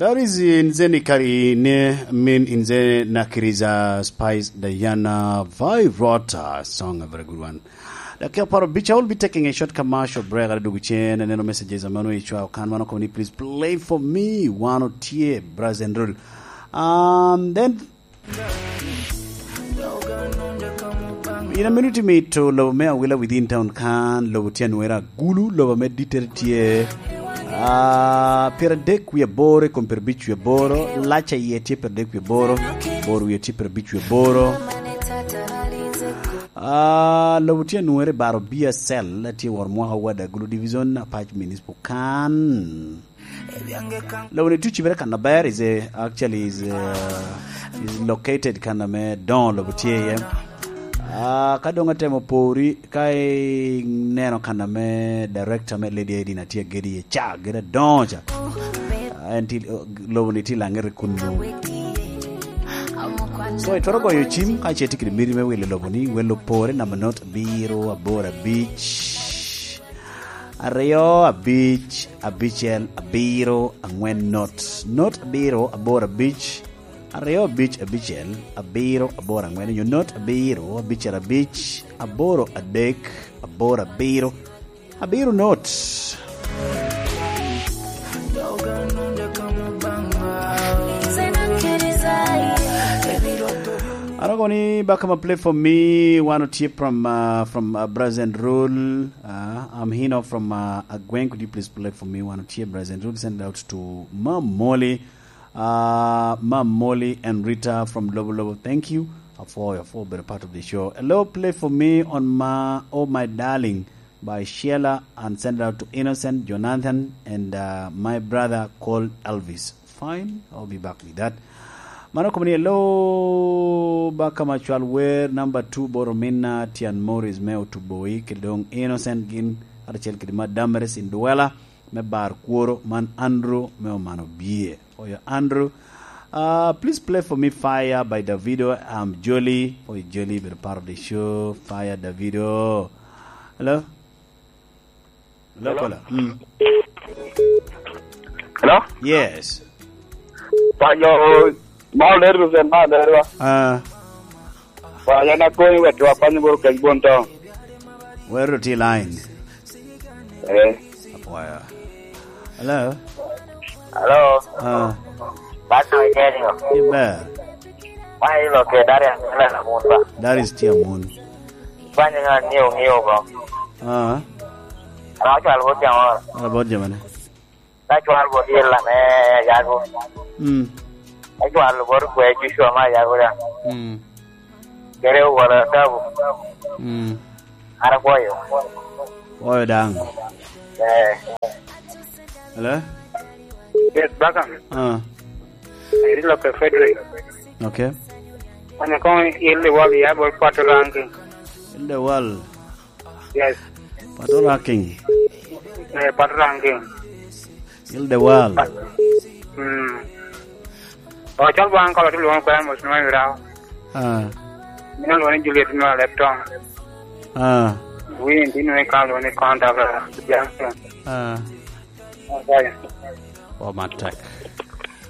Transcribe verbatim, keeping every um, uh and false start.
That is Nzeni Kari ne min Nze Nakiriza Spice Diana Virota song, a very good one. Dakika apar obic, I will be taking a short commercial break. Ada dugu cen, aneno messages a mano icwa okan mano koni, please play for me. Wan otye, Brazen Rule. Um, then, in a minute mito lobo me Awila within town kan, lobo tye anwera Gulu, lobo me ditere tye, ah, pyeradek wie aboro i kom pyerabic wie aboro, lac a iye tye pyeradek wie aboro, bor wie tye pyerabic wie aboro. Ah, lobo tye anwere baro B S L, tye wor mwaka wada Gulu Division, Apac Municipal kan. Lobo ni tuci bere kan aber, is a, actually is, uh, is located kan ame doŋo lobo tye iye. Ah, ka doŋ atemo pori, ka ineno kan ame director me Lady Aidin atye agedi iye ca, gedi adoŋo ca. Ah, en ti, lobo ni ti laŋete kunnu. So, itwero goyo cim ka ce tye kede miti me wilo lobo ni, welo pore namba not abiro aboro abic, aryo abic abicel abiro aŋwen not. Not abiro aboro abic, aryo abic abicel abiro aboro aŋwen, onyo not abiro abicel abic aboro adek aboro abiro abiro not. Aroko ni, Bakama, play for me. Wan otye from, uh, from, uh, Brazen Rule. Uh, I'm Hino from, uh, Agweng. Could you please play for me? Wan otye Brazen Rule. Send it out to Mam Molly. Uh, Mam Molly and Rita from Lobo Lobo. Thank you. Afo, afo, better part of the show. Hello, play for me on my, Oh My Darling by Sheila and send it out to Innocent, Jonathan, and, uh, my brother called Elvis. Fine, I'll be back with that. Mano kome ni, hello, Bakama, cwal wer number two, boro minna Tian Morris me Otuboi, kede doŋ Innocent gin, kacel kede Madam Meresin Duwela, me bar kworo, man Andrew me Omano Bie. Oyo Andrew. Uh, please play for me Fire by Davido. I'm Jolly. Oyo Jolly, better part of the show. Fire, Davido. Hello? Hello, caller. Mm. Hello? Yes. Payo, ma olero sen, ma olero. Ah. Payo na koni wek wa panyo boro keny bon to. Where to line? Eh. Apwaya. Hello? Hello? Ah. Bata Egenio. Iber. Ma ilo ke Darius Mela Munba. Darius tye amun. Banya nga ng'iyo, ng'iyo ko. Ah. Ano cwal bot jamo? Ano bot jamo ne? Na cwal bot yella me yago. Mm. Na cwal bot kwe Joshua ma yago da. Mm. Kere wala tabu. Mm. Ara kwoyo. Kwoyo daŋ. Eh. Hello? Yes, Bakam. Ah. Eri lo ke Frederick. Okay. Kwenye kong il the world ya bol pato ranking. Il the world. Yes. Pato ranking. Eh, pato ranking. Il the world. Hmm. O chal bang kalo tu luong kwen mo sino ira. Ah. Mina luong ni Juliet no Leptong. Ah. Win dino e kalo ni konta. Jackson. Ah. Okay. Oh, my tech.